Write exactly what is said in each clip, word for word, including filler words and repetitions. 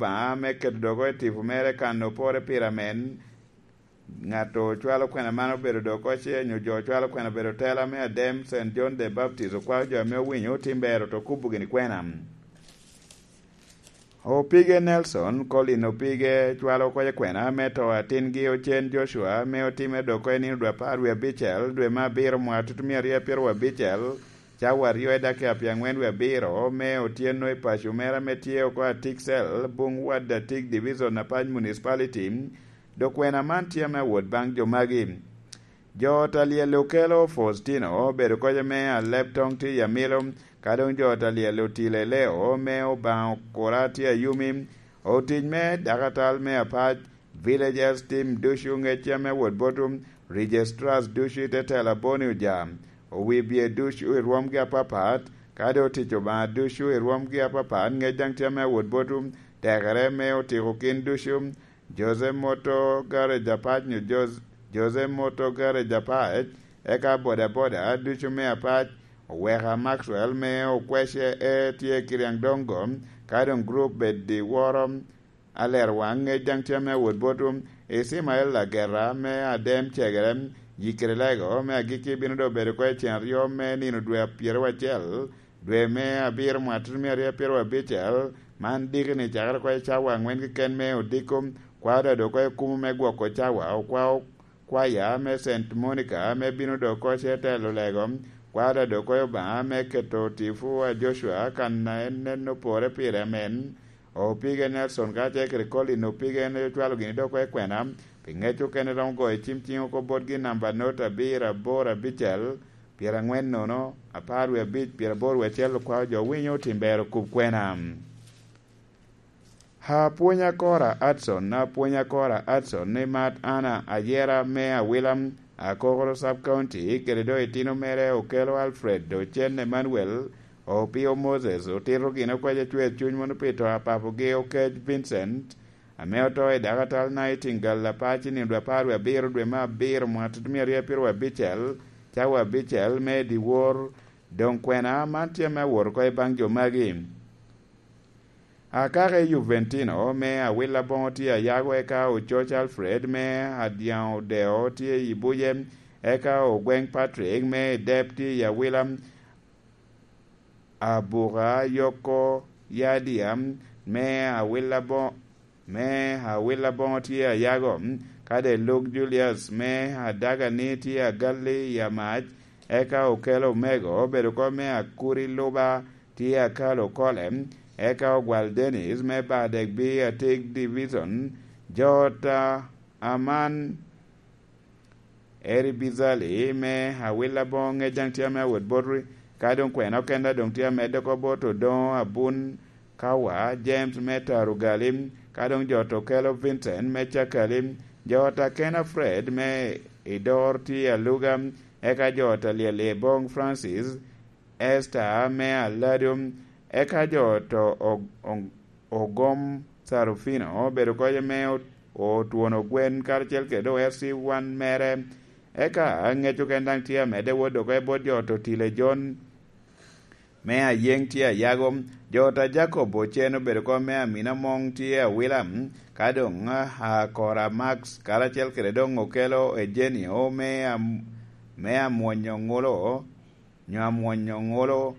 Obaŋa me keto dogo i tipo mere kan opore pire amen. Ŋat ocwalo kwena man obedo dogo ce, nyo jo ocwalo kwena obedo tela me adem, Saint John the Baptist okwao jo ame owinyo otim bero to kubo gini kwena. Opige Nelson, Colin Opige, cwalo oko i kwena me to atingi Ocen Joshua, me otime dogo i nino dwe apar wie abicel, dwe me abiro, mwaka tutumia aryo apiro wie abicel, cawa aryo i dakika pye aŋwen wie abiro, me otyeno i paco mere ame tye oko Atiksel, Bung Wad Atik Division, Apac Municipality. Dok kwena man tye ame awot baŋ jo magi. Jo ot a lyel okelo Faustino, obedo koc ame aleb toŋ tye i Amilo, ka doŋ jo ot a lyel otile Leo me Obaŋa Okura tye Ayumi, otic me dakatal me Apac, Villagers Team ducu ŋec ame wot botum, Registrars ducu i te tela Boni Oja, owi bye ducu i rwomgi apapat, ka doŋ otic Obaŋa ducu i rwomgi apapat ŋec daŋ tye ame wot botum, tekere me otiko kin ducu, Jose Moto Garage Apac nyo Jos-, Jose Moto Garage Apac, eka bodaboda ducu me Apac, Oweka Maxwell me Okwece e tye Kiriaŋ Dongo, ka doŋ grup bed i woro Alerwaŋ ŋec daŋ tye ame wot botum, Icimael Lagera me Adem Cegere, Yikiri Lego me agikki bino doŋ bedo oko i cen aryo me nino dwe a pyeraryo acel, dwe me abiro mwaka tutumia aryo apiro abicel, man diki ni cakere oko i cawa aŋwen keken me odiko, kwao dado oko i kumo me gwoko cawa, okwao kwaya me Saint Monica me bino dok oko ce telo lego, kwao dado oko i Obaŋa me keto tipo a Joshua kan a en nen opore pire amen. Opige Nelson ka ce kede Colin Opige en ocwalo gini dok oko i kwena, pi ŋec okene romo goyo cim ciŋ oko botgi namba not abiro aboro abicel, pyeraŋwen nono, apar wie abic, pyeraboro wie acel okwao jo winyo otim bero kub kwena. Apwony Akora Adson, Apwony Akora Adson, ni mat Anna Ayera me Awila, Akokoro Sub County, kede doŋ itino mere Okelo Alfred Ocen Emmanuel, Opio Moses, otito gin okwac acwer cuny mono pi to a papogi Okec Vincent, ame oto i dakatal Nightingale Apac i nino dwe apar wie abiro dwe me abiro mwaka tutumia aryo apiro abicel, cawa abicel me dyewor. Doŋ kwena man tye ame awot oko i baŋ jo magi. Akaka i Juventino me Awila boŋo tye Ayago, eka Ococ Alfred me Adyaŋ Odeo tye i Buje, eka Ogweŋ Patrick me Dep tye i Awila, Abuka Yoko Yadia me Awila boŋo me Awila boŋo tye Ayago, kade Luke Julius me Adagani tye Agalli i Amac, eka Okelo Omego obedo oko me Akuri Luba tye Akalo Kole, eka Ogwal Dennis me Badegbi Atig Division, jo ta aman Eri Bizali me Awila boŋo ŋec daŋ tye ame awot botwu, ka doŋ kwena okenda doŋ tye amedde oko bot Odoŋo Abun Kawa, James me Tarugali, ka doŋ jo to kelo Vincent me Cakali, jo ta kena Fred me Idor tye Aluga, eka jo ta lyel i boŋ Francis, Esther me Alado, eka jo to og-, og-, ogom Sarufino obedo koc ame ot-, otwono gwen karacel kede doŋ R C one mere. Eka ŋec oken daŋ tye amedde wot dok i bot jo to tile John me Ayeŋ tye Ayago. Jo ta Jacob Ocen obedo koc me Amina Moŋ tye Awila, ka doŋ Akora Max karacel kede doŋ Okelo Eugenio me Am-, me Amwonyo Ŋulo, nyo Amwonyo Ŋulo.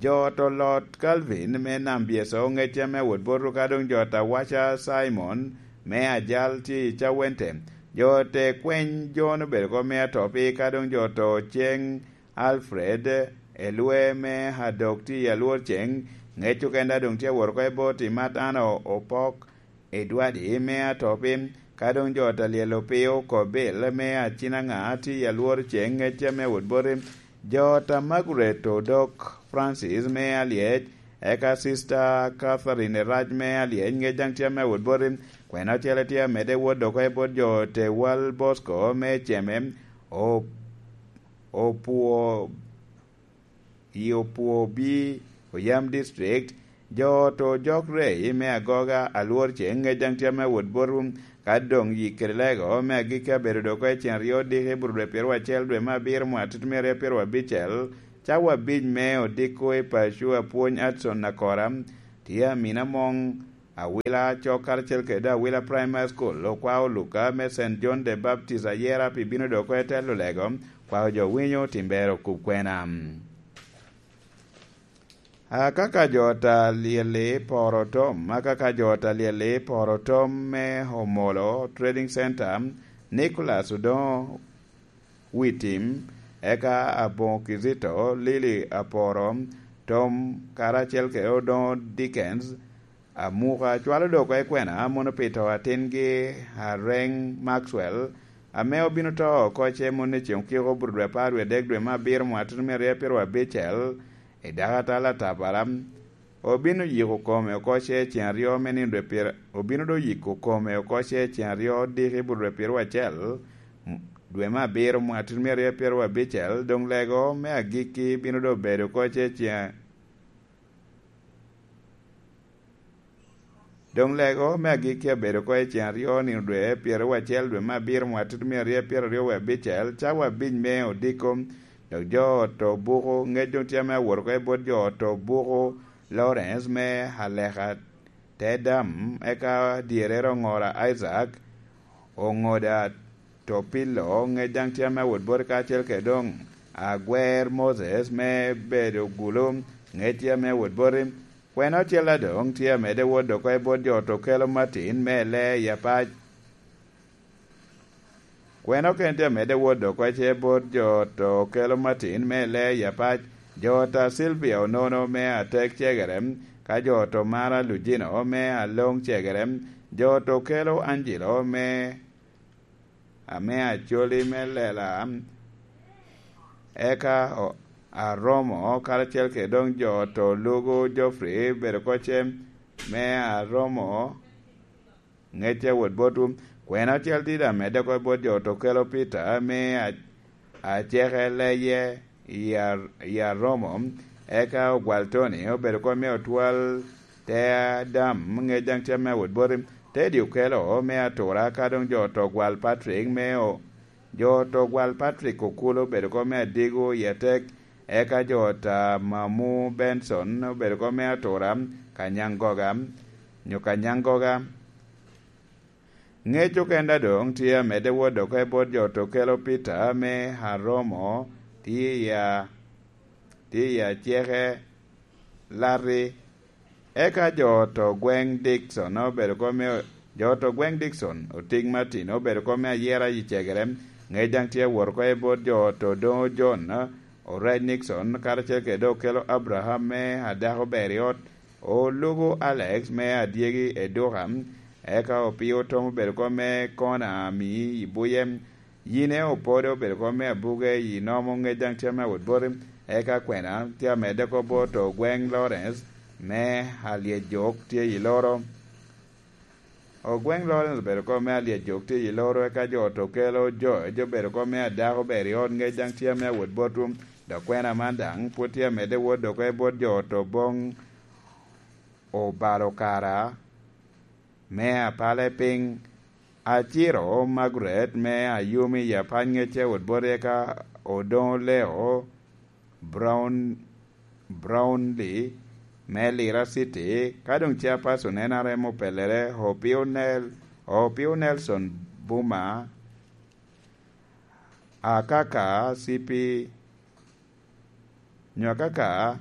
Jo to Lot Calvin me Nam Byeso ŋec ame wot botwu, ka doŋ jo ta Waca Simon me Ajal tye i Cawente. Jo te Kweny John obedo oko me Atopi, ka doŋ jo to Ceng Alfred Elwe me Adok tye i Alwor Ceng. Ŋec oken daŋ doŋ tye awot oko i bot i Matano Opok Edward me Atopi, ka doŋ jo ta lyel Opio Kobil me Acinaŋa tye i Alwor Ceng ŋec ame wot boti, jo ta Margaret Odok Francis me Alyec, eka Sister Catherine Erac me Alyec ŋec daŋ tye ame wot boti, kwena ocele tye amedde wot dok i bot jo te Wal Bosco me Ceme, o-, Opuo i Opwobi, Oyam District, jo to Jok Rei me Agoga, Alwor Ceng ŋec daŋ tye ame wot botwu, ka doŋ yik kede lego me agikki abedo dok oko i cen aryo diki i bur dwe pyeraryo acel dwe me abiro mwaka tutumia aryo pyeraryo abicel, cawa abic me odiko i paco Apwony Adson Akora, tye Amina Moŋ, Awila Cok karacel kede Awila Primary School okwao Luka me Saint John the Baptist ayera pi bino dok oko i telo lego, kwao jo winyo timbere okub kwena. Akaka jo ta lyel-li poro tom, akaka jo ta lyel-li poro tom me Omolo Trading Center, Nicholas Odongo Witim, eka Aboŋo Kizito, Lily Aporo, Tom karacel kede Odongo Dickens, Amuka cwalo dok oko i kwena mono pi to atingi Areŋ Maxwell, ame obino to oko ce mono i ceŋ okiko bur dwe apar wie adek dwe me abiro mwaka tutumia aryo pyero abicel, i dakatal atabara. Obino yiko kome oko ce ceŋ aryo me nino dwe pyera, obino do yiko kome oko ce ceŋ aryo diki bur dwe pyero acel dwe me abiro mwaka tutumia aryo pyero abicel, doŋ lego me agikki bino do bedo oko ce ceŋ Doŋ lego me agikki abedo oko i ceŋ aryo nino dwe pyeraryo acel dwe me abiro mwaka tutumia aryo pyeraryo wie abicel, cawa abic me odiko. Dok jo ot obuko ŋec doŋ tye ame awot oko i bot jo ot obuko Lawrence me Aleka te dam, eka dyerere oŋora Isaac, oŋoda Topilo, ŋec daŋ tye ame awot boti kacel kede doŋ agwer Moses me bedo gulu, ŋec tye ame awot boti. Kwena ocel a doŋ tye amedde wot oko i bot jo ot okelo Martin me Lee i Apac. Kwena okene tye amedde wot oko ce bot jo ot okelo Martin me Lee i Apac. Jo ot a Sylvia Onono me Atek Cegere, ka jo ot Omara Lujino me Aloŋ Cegere, jo ot okelo Angelo me ame Acoli me Lela, eka o-, Aromo karacel kede doŋ jo ot Olugo Geoffrey bedo kocem me Aromo ŋecce wot botwu. Kwena ocel dit amedde oko bot jo ot okelo Peter me a-, aceke leye i a-, i Aromo, eka ogwal Tony obedo kop me otwal te adam ŋec daŋ tye me awot boti. Teddy okelo me atura ka doŋ jo oto gwal Patrick me o-, jo oto gwal Patrick Okul obedo kop me adigo i atek, eka jo ota Mamu Benson obedo kop me atura Kanyangoga, nyo Kanyangoga. Ŋec okenda doŋ tye amedde wot oko i bot jo oto kelo Peter me Aromo tye i a-, tye i aceke Larry. Eka jo oto gweŋ Dickson obedo kop me, jo oto gweŋ Dickson, Otik Martin obedo kop me ayera i Cegere, ŋec daŋ tye awot oko i bot jo oto doŋ John, Orec Nixon, karacel kede Okelo Abraham me adako ber i ot, Olugo Alex me adyegi Eduka, eka Opio Tom obedo kop me kona ami i buye, Yine Opodo obedo kop me abuge i nomo ŋec daŋ tye me awot boti, eka kwena tye amedde kop bot Ogweŋ Lawrence me Alyejok tye i loro. Ogweŋ Lawrence obedo kop me Alyejok tye i loro, eka jo oto kelo George obedo kop me adako ber i ot ŋec daŋ tye me awot botwu, dok kwena man daŋ pwod tye amedde wot dok i bot jo oto boŋ obalo kara me apale piny. Aciro Margaret me Ayumi i Apac ŋec awot boti, eka Odoŋo Leo Brown, Brownlee me Lira City, ka doŋ chairperson N R M opelere, Opio Nel-, Opio Nelson Buma, Akaka C P, nyo Akaka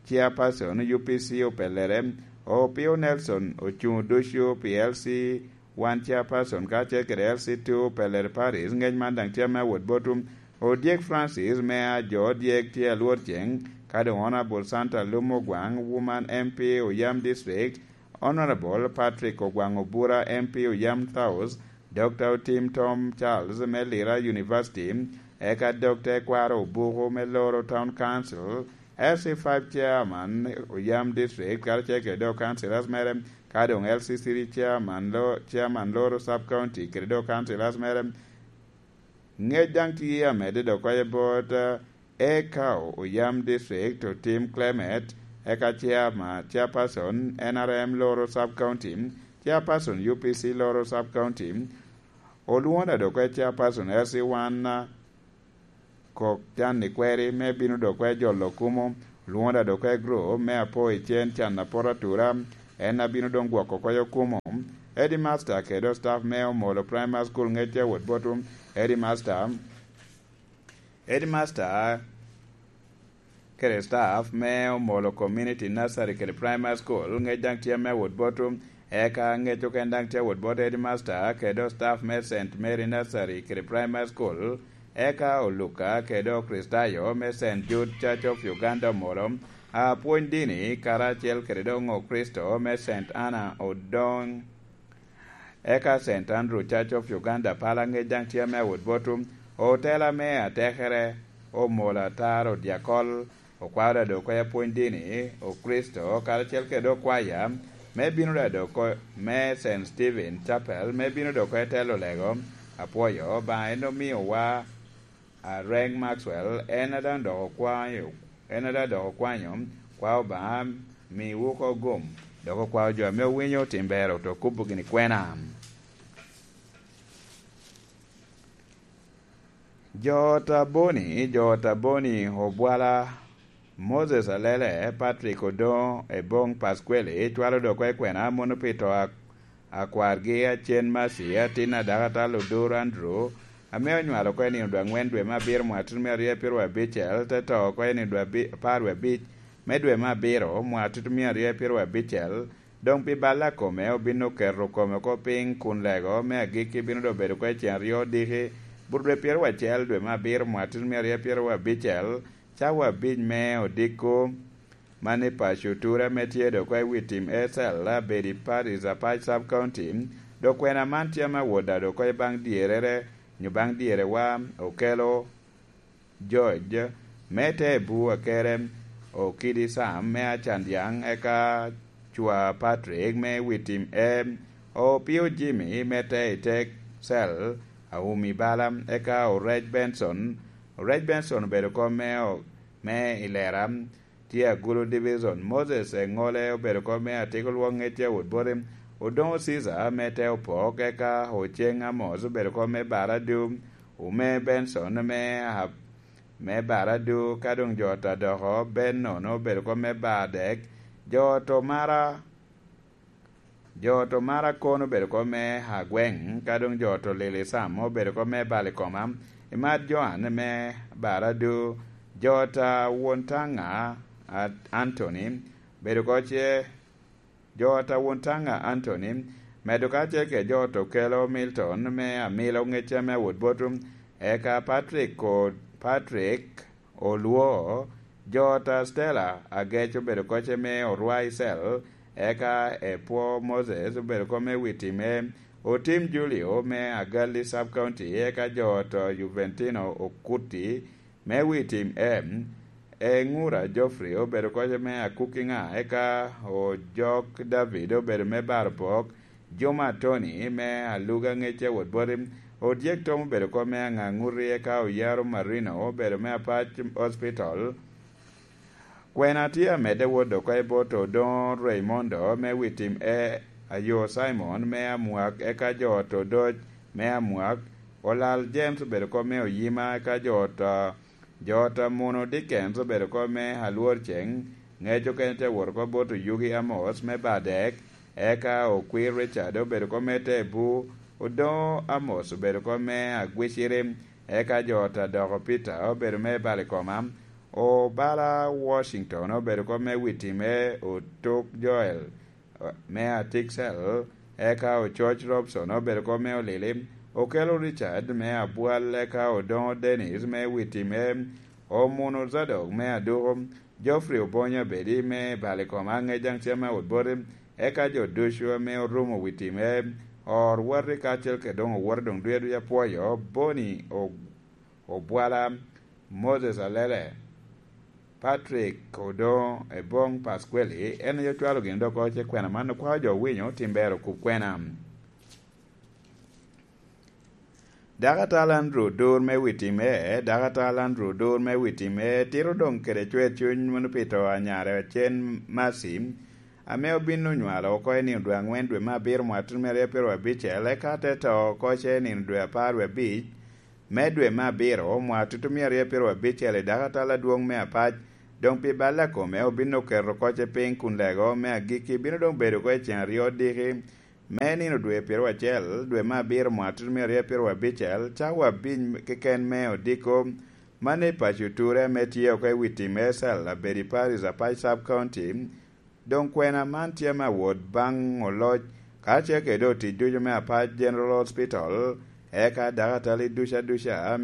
chairperson U P C opelere, Opio Nelson ocuŋ ducu pi L C one chairperson, ka ce kede L C two opelere Paris, ŋec man daŋ tye me awot botwu. Odyek Francis me a jo odyek tye alwor ceŋ, ka doŋ Honorable Santa Lum Ogwaŋ, Woman M P Oyam District, Honorable Patrick Ogwaŋ Obura, M P Oyam South, Doctor Otim Tom Charles me Lira University, eka Doctor Ekwaro Obuku me Loro Town Council, L C five Chairman Oyam District, karacel kede dok councillors mere, ka doŋ L C three Chairman lo-, Chairman Loro Sub County kede dok councillors mere. Ŋec daŋ tye amedde dok oko i bot, eh, Ekau Oyam District, Otim Clement, eka Chairma-, Chairperson N R M Loro Sub County, Chairperson U P C Loro Sub County, Olwona dok oko i Chairperson L C one, ah, Kok Can Ikweri me bino dok oko i jolo kumo, Olwona dok oko i group me Apo i Cen Can Apot Atura, en a bino doŋ gwoko oko i okumo. Headmaster kede staff me Omolo Primary School ŋec a wot botwu. Headmaster, Headmaster kede staff me Omolo Community Nursery kede Primary School ŋec daŋ tye me wot botwu. Eka ŋec oken daŋ tye wot bot Headmaster kede staff me Saint Mary Nursery kede Primary School, eka Oluka kede Okricitayo me Saint Jude Church of Uganda Omolo, apwony dini karacel kede doŋ Okricito me Saint Anna Odoŋ, eka Saint Andrew Church of Uganda Pala ŋec daŋ tye me wot botwu. Otela me atekere Omolo Ataro Dyakol, okwao dado oko i apwony dini, Okricito, karacel kede okwaya, me bino dado oko me Saint Stephen Chapel, me bino dado oko i telo lego. Apwoyo Obaŋa en omiowa a Reng Maxwell, en a daŋ dok okwanyo, en a daŋ dok okwanyo, kwa Obaŋa miwu oko gum, dok okwao jo ame owinyo tim ber oto kubo gini kwena. Jo ot aboni, jo ot aboni obwala Moses Alele, Patrick Odoŋo, Ebong Pasqueli, cwalo dok oko i kwena mono pi to a-, akwargi Acen Maci, atin a Dakatal Oduro Andrew, ame onywalo oko i nino dwe aŋwen dwe me abiro mwaka tutumia aryo pyeraryo abicel, te to oko i nino dwe abi-, apar wie abic me dwe me abiro mwaka tutumia aryo pyeraryo abicel, doŋ pi bal a kome obin oketo kome oko piny kun lego me agikki bino doŋ bedo oko i cen aryo odiki, but dwe pyeraryo acel dwe me abiro mwaka tutumia aryo pyeraryo abicel, cawa abic me odiko. Man i paco ture ame tye dok oko i wi tim A C L, abedi Paris Apac Sub County, dok kwena man tye ame awot dado oko i baŋ dyerere, nyo baŋ dyerewa, Okelo George, me te Ebu Akere, Okidi Sam, me Acandyaŋ, eka Cwa Patrick, me wi tim A, Opio Jimmy, me te i tek cell, Aumi Bala, eka Orec Benson. Orec Benson obedo kom me o-, me i Lera, tye Agulu Division. Moses Eŋole obedo kom me Atiko Lwok Ŋecce Awot Boti. Odoŋo Caesar me te Opok, eka Oceng Amos obedo kom me Baradu, Ume Benson me a-, me Baradu, ka doŋ jo ot adoko, Benon obedo kom me Bardek, jo ot Omara, jo ot Omara kono obedo kom me Agweŋ, ka doŋ jo ot Olili Sam obedo kom me Balikoma, Imat Joan me Baradu, jo ot a Won Taŋa, a-, Anthony, bedo oko ce, jo ot a Won Taŋa Anthony, medo kacel kede jo ot Okelo Milton me Amilo Ŋecce me Awot Boti, eka Patrick ko-, Patrick Olwo, jo ot a Stella Agec obedo oko ce me Orwai Cell, eka Epwo Moses obedo oko me wi tim A, Otim Julio me Agalli Sub County, eka jo ot Juventino Okuti, me wi tim A, Eŋura Geoffrey obedo oko ce me Akukiŋa, eka Ojok David obedo me Baro Pok, Juma Tony me Aluga Ŋecce Awot Boti, Odyek Tom obedo oko me Aŋaŋuti, eka Oyaro Marino obedo me Apac Hospital. Kwena tye amedde wot oko i bot Odoŋo Raymondo me wi tim A, Ayo Simon me Amwak, eka jo ot Odoc me Amwak, Olal James obedo kom me Oyima, eka jo ot, a, jo ot Amuno Dickens obedo kom me Alwor Ceng, ŋec okene te wot oko bot Oyugi Amos me Badek, eka Okwir Richard obedo kom me Tebu, Odoŋo Amos obedo kom me Agwiciri, eka jo ot Adoko Peter obedo me Balikoma, Obala Washington obedo kom me wi time, Otuk Joel, eh, me Atiksel, eka Ococ Robson obedo kom me Olili, Okelo Richard me Abwal, eka Odoŋo Dennis me wi time, Omuno Zadok me Aduko, Geoffrey Obonyo Abedi me Balikoma, Aŋejaŋ Cem me Awot Boti, eka jo ducu ame orumo wi time, or wati kacel kede doŋ owote doŋ duya duya pwoyo, Boni O-, Obwala, Moses Alele, Patrick Odoŋo, Ebong Pasqueli, en aye ocwalo gin dok oko ce kwena man okwao jo owinyo tim ber okub kwena. Dakatal Andrew Odur me wi tim A, Dakatal Andrew Odur me wi tim A, tito doŋ kede cwer cuny mono pi to a nyare Acen Mercy, ame obin onywalo oko i nino dwe aŋwen dwe me abiro mwaka tutumia aryo pyeraryo abicel, eka te to oko ce i nino dwe apar wie abic, me dwe me abiro, mwaka tutumia aryo pyeraryo abicel i dakatal adwoŋ me Apac, Doŋ pi bal a kome obin oketo kocce piny kun lego me agikki bino doŋ bedo oko i ceŋ aryo odiki me nino dwe pyeraryo acel dwe me abiro mwaka tutumia aryo pyeraryo abicel, cawa abiny keken me odiko. Mano i paco ture ame tye oko i wi tim Esel Abedi Parish, Apac Sub County. Doŋ kwena man tye ame awot baŋ oloc kacel kede otic ducu me Apac General Hospital, eka dakatali duca duca